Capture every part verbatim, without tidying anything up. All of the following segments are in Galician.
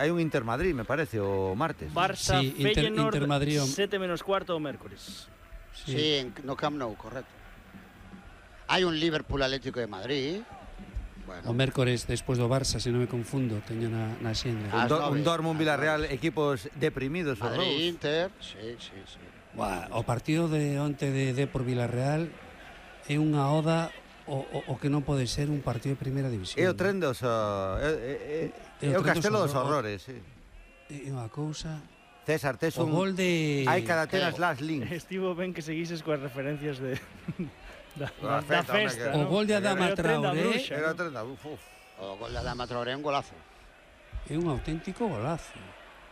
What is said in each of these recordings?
hai un Inter Madrid, me parece, o martes. Barça, sí, Inter, Feyenoord, Inter Madrid, sete menos cuarto o mércores. Sí, sí en, no Camp Nou, correcto. Hai un Liverpool Atlético de Madrid. Bueno. O mércores despois do Barça, se non me confundo, teño na, na xenda. Un, do, un Dortmund Villarreal, equipos deprimidos. Madrid, Inter, sí, sí, sí. Buah, o partido de onte de Depor Villarreal é unha oda o, o, o que non pode ser un partido de primeira división. É o tren dos... Uh, é, é, é o castelo dos horrores, sí. É unha cousa... César, tes un... O gol de... Hai cada tenas las links. Estivo ben que seguises coas referencias de... Da, da, da festa, festa, o ¿no? gol de Adama Traoré. Era o tren da uf, uf. O gol de Adama Traoré é un golazo. É un auténtico golazo.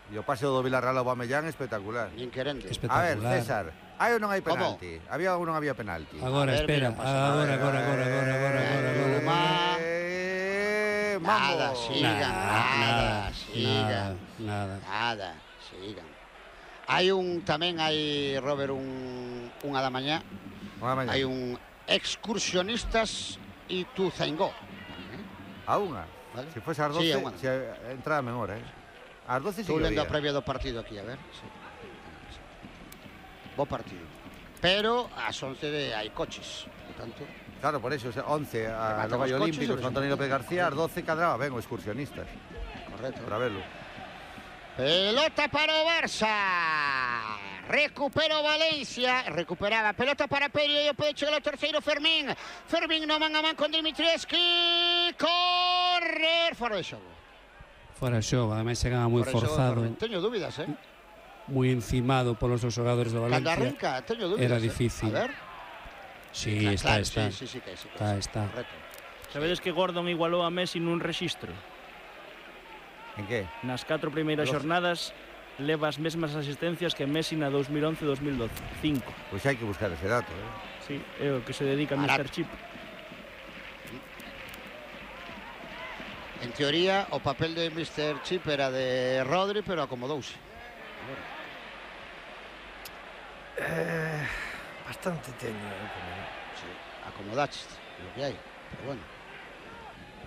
E o pase do Villarreal ao Aubameyang espectacular. Nin querente. A ver, Espectacular. César, hai ou non hai penalti? ¿Cómo? Había ou non había penalti? Agora, ver, espera, mira, agora, agora, agora, agora, agora, agora, agora. Eh, nada, mambo. sigan, nada, nada, sigan. Nada, nada, sigan. Hai un, tamén hai, Robert, un, unha da mañá. Unha mañá. Hai un excursionistas e tu Zaingó. ¿Eh? A unha? Vale. Se fose ás doce, sí, se entraba menor, eh? Ás doce sí Estou que lendo a había. previa do partido aquí, a ver. Sí. Bo partido. Pero ás once de, hai coches, por tanto... Claro, por eso, o sea, once a Nova Olímpicos con Antonio López García, ás doce cadraba ben o excursionistas. Correcto. Para verlo. Pelota para o Barça. Recupera o Valencia. Recuperaba. Pelota para Perio e pode chegar o terceiro Fermín. Fermín no man a man con Dimitrievski. Correr. Fora de xogo. Fora de xogo. Ademais chegaba moi forzado. Teño dúbidas, eh? Moi encimado polos seus xogadores do Valencia. Cando arranca, teño dúbidas. Era difícil. Eh? A ver. Sí, está, claro, está. Sí, sí, sí, que sí, que está, sí. está. Correcto. Sabedes que Gordon igualou a Messi nun rexistro? En que? Nas catro primeiras xornadas leva as mesmas asistencias que Messi na dos mil once dos mil doce. Cinco. Pois hai que buscar ese dato, eh? Sí, é o que se dedica a mister Chip. En teoría, o papel de mister Chip era de Rodri, pero acomodouse. Eh, bastante teño, eh, sí, acomodaches, lo que hai, pero bueno.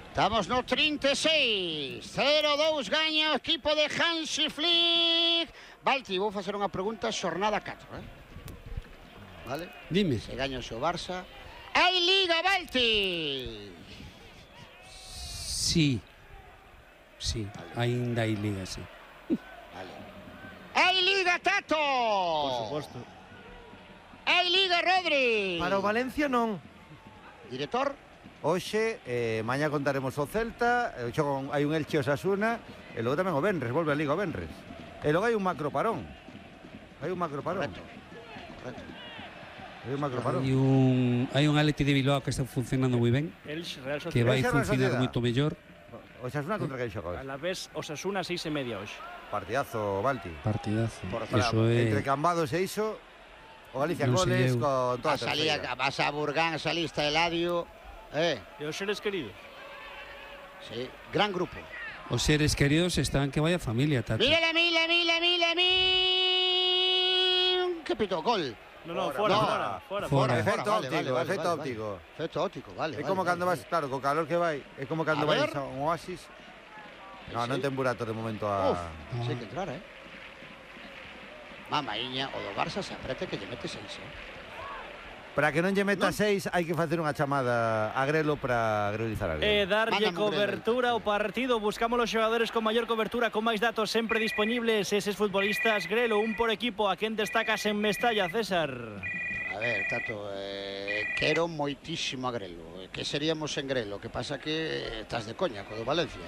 Estamos no trinta e seis, cero dous gaña o equipo de Hansi Flick. Balti, vou facer unha pregunta, xornada catro, eh? Vale? Dime. Se gaña o seu Barça. Hai Liga, Balti! Sí. Sí, vale. Ainda hai Liga, sí. Vale. Hai Liga, Tato! Por suposto. Hai Liga, Rodri! Para o Valencia non. Director? Hoxe, eh, mañá contaremos o Celta, eh, xogo, hai un Elche Osasuna, e logo tamén o Benres, volve a Liga o Benres. E logo hai un macro parón. Hai un macro parón. Correcto. Correcto. Hai un macro parón. Hai un, hai un Atleti de Bilbao que está funcionando moi ben, Elche, Real que vai Sociedad. funcionar moito mellor. O Osasuna contra quen xoga hoxe? A la vez, Osasuna seis e media hoxe. Partidazo, Balti. Partidazo. Por Eso é... Entre Cambados e iso, o Galicia Non se goles deu. con toda a Vas a, Liga, terceira. vas a Burgán, salista Eladio. Eh, E os seres queridos? sí, gran grupo. Os seres queridos están que vaya familia, Tato. Mira, mira, mira, mira, mira. ¿Qué pito? Gol. No, no, Fora, fora, fora. fora, fora. Fora. fora. Efecto Vale, óptico, vale, vale, efecto vale, óptico. Efecto óptico, vale. É vale, como vale, cando vale. vas, claro, co calor que vai, é como cando A vais ver. a un oasis. No, Sí. non ten burato de momento a... Uf, sí, hay que entrar, eh. Mamaiña, o do Barça se aprete que lle mete seis, eh. Para que non lle meta Non. seis, hai que facer unha chamada a Grelo para grelizar a E Grelo. darlle Mándame un cobertura ao partido. Buscamos os xogadores con maior cobertura, con máis datos sempre disponibles. Eses futbolistas, Grelo, un por equipo. A quen destacas en Mestalla, César? A ver, Tato, eh, quero moitísimo a Grelo. Que seríamos en Grelo? Que pasa que estás de coña co do Valencia.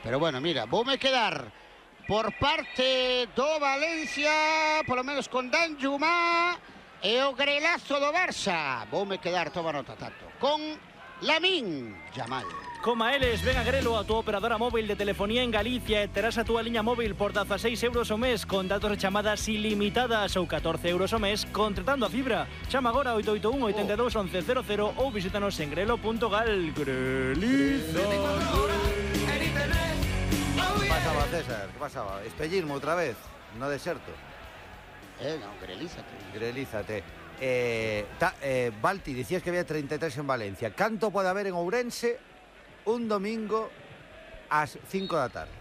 Pero bueno, mira, voume quedar por parte do Valencia, polo menos con Dan Jumá e o grelazo do Barça. Voume quedar, toma nota, Tato, con Lamín Yamal. Coma eles, ven a Grelo, a túa operadora móvil de telefonía en Galicia, e terás a túa liña móvil por dezaseis euros o mes con datos de chamadas ilimitadas ou catorce euros o mes contratando a fibra. Chama agora oito oito un, oito dos, once cero cero ou visítanos en grelo punto gal. Grelizo. Que pasaba, César? Que pasaba? Espellismo outra vez, no deserto. Eh, non, grelízate. Grelízate. Eh, ta, eh, Balti, dicías que había treinta e tres en Valencia. Canto pode haber en Ourense un domingo ás cinco da tarde?